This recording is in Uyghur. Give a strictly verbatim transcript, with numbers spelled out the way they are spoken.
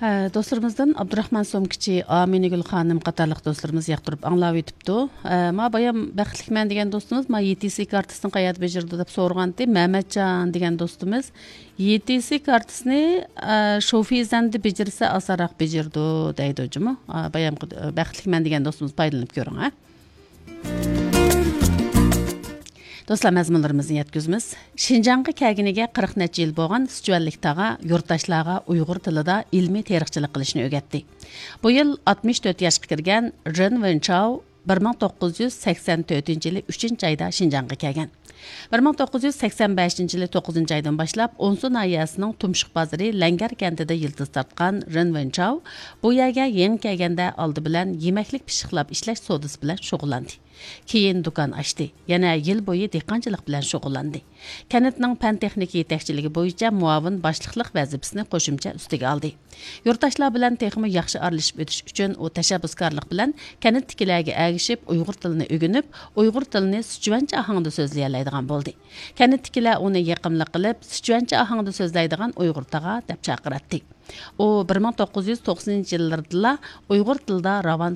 ئە، دوستلىرىمىزدىن ئابدۇراخمان سومكىچى، ئامىنىگۈل خانىم قاتارلىق دوستلىرىمىز ياقتۇرۇپ ئاڭلاۋېتىپتۇ. ئە، ما بايام بەختلىكمەن دېگەن دوستىمىز، ما يېتى سى كارتىسىنى قەيەردە بېجىرىدۇ دەپ سورىغانتى. مەمەتجان دېگەن دوستىمىز، يېتى سى كارتىسىنى، ئە، شوفىزەندە بېجىرسە ئاسانراق بېجىرىدۇ دەيدۇ جۇمۇ. ئە، بايامقى، ئە، بەختلىكمەن دېگەن دوستىمىز پايدىلىنىپ كۆرۈڭ، ھە. دوستلار، مەزمۇنلىرىمىزنى يەتكۈزىمىز. شىنجاڭغا كەلگىنىگە قىرىق نەچچە يىل بولغان سىچۈەنلىك تاغا يۇرتداشلارغا ئۇيغۇر تىلىدا ئىلمىي تېرىقچىلىق قىلىشنى ئۆگەتتى. بۇ يىل ئاتمىش تۆت ياشقا كىرگەن رېن ۋېنچاۋ بىر مىڭ توققۇز يۈز سەكسەن تۆتىنچى يىلى ئۈچىنچى ئايدا شىنجاڭغا كەلگەن. بىر مىڭ توققۇز يۈز سەكسەن بەشىنچى يىلى توققۇزىنچى ئايدىن باشلاپ ئونسۇ ناھىيەسىنىڭ تۇمشۇق بازىرى لەڭگەر كەنتىدە يىلتىز تارتقان رېن ۋېنچاۋ بۇ يەرگە يېڭى كەلگەندە ئالدى بىلەن يېمەكلىك پىششىقلاپ ئىشلەش سودىسى بىلەن شۇغۇللاندى. كېيىن دۇكان ئاچتى. يەنە يىل بويى دېھقانچىلىق بىلەن شۇغۇللاندى. كەنتنىڭ پەن-تېخنىكا يېتەكچىلىكى بويىچە مۇئاۋىن باشلىقلىق ۋەزىپىسىنى قوشۇمچە ئۈستىگە ئالدى. يۇرتداشلار بىلەن تېخىمۇ ياخشى ئارىلىشىپ ئۆتۈش ئۈچۈن ئۇ تەشەببۇسكارلىق بىلەن كەنتتىكىلەرگە ئەگىشىپ، ئۇيغۇر تىلىنى ئۆگىنىپ، ئۇيغۇر تىلىنى سىچۈەنچە ئاھاڭدا سۆزلىيەلەيدىغان بولدى. كەنتتىكىلەر ئۇنى يېقىملىق قىلىپ، سىچۈەنچە ئاھاڭدا سۆزلەيدىغان ئۇيغۇر تاغا دەپ چاقىراتتى. ئۇ بىر مىڭ توققۇز يۈز توقسىنىنچى يىللىرىدىلا ئۇيغۇر تىلىدا راۋان